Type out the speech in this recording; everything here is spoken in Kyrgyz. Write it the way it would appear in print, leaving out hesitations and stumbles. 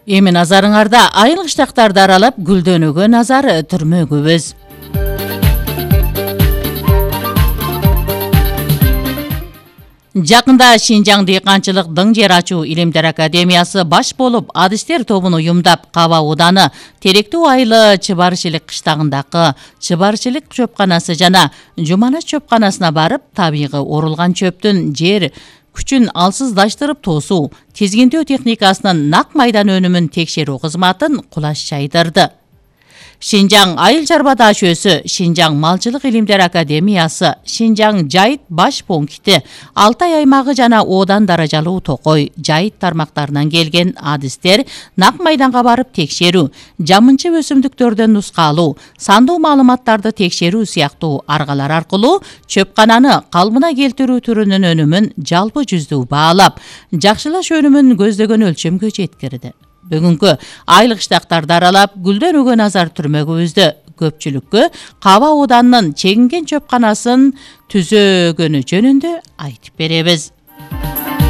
Эми назарыңарда айыл кыштактарды аралап гүлдөнүүгө назар түрмөгүбүз. Жакында Шинжаң дыйканчылык дың жер ачуу илимдер академиясы баш болуп адистер тобун уюмдап Каба Уданы Теректүү айылы Чыбарчылык кыштагындагы Чыбарчылык чөпканасы жана Жуманаш чөпканасына барып, табигый орулган чөптүн жер күчүн алсыздаштырып тоосуу, тизгинтөө техникасынын нак майдан өнүмүн текшерүү кызматын кулаш чайдырды. Шинжаң айыл чарба даашөсү, Шинжаң малчылык илимдер академиясы, Шинжаң жайыт баш пункти, Алтай аймагы жана Одан даражалуу Токой жайыт тармактарынан келген адистер нак майданга барып текшерүү, жамынчы өсүмдүктөрдөн нускалуу, сандуу маалыматтарды текшерүү сыяктуу аргалар аркылуу чөпкананы калыбына келтирүү түрүнүн өнүмүн жалпы жүздүү баалап, жакшылаш өнүмүн көздөгөн өлчөмгө жеткирди. Бүгүнкү айыл кыштактарды аралап гүлдөнүүгө назар түрмөгүбүздө көпчүлүккө Каба Уданынын чегинген чөпканасын түзөгөнү жөнүндө айтып беребиз.